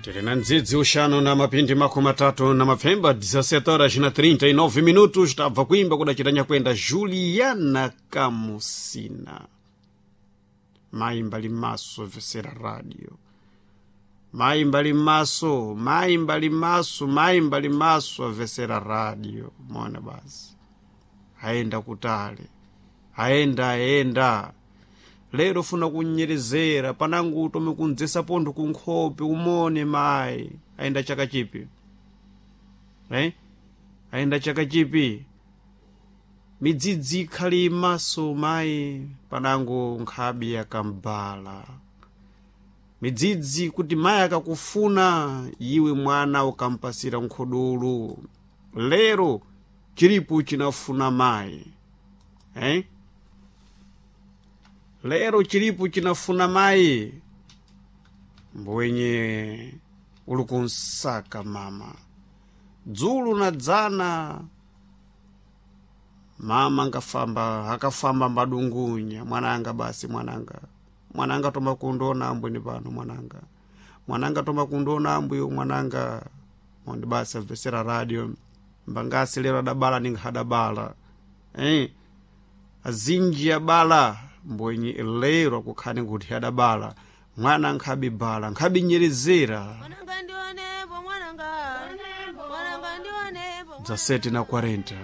Tiri na ndzidzi uxanu na mapindi 30 na mapfemba, 17 horas na 39 minutos. Tabva kuimba kudacitanya kwenda Juliana Kamusina, mayi mbali maso vesera radio, mayi mbali maso, mayi mbali maso, mayi mbali maso avesera radio. Mona basi aenda kutale, aenda aenda lero funa kunyerezera panangu utome kundzesa pontho kunkhope umone mayi aenda chaka chipi, eh? Aenda chaka chipi, midzidzi ikhali imaso mayi panangu nkhabi yakambala midzidzi kuti mayi akakufuna iwe mwana ukampasira nkhodolo. Lero chilipo chinafuna mayi, eh? Lero chilipo chinafuna mayi mbwenye uli kunsaka mama dzulu na dzana mama angafamba akafamba mbadungunya mwananga basi mwananga mwananga toma kundiona ambwini pano mwananga mwananga toma kundiona ambuyo mwananga mondi basi amvesera radio mbangasi lero adabala ninkhadabala, eh? Azinji abala mbwenye lero akukhani kuti adabala mwana nkhabibala nkhabinyerezera. Mwananga ndionepo mwananga, mwananga ndionepo. Za 7 na 40.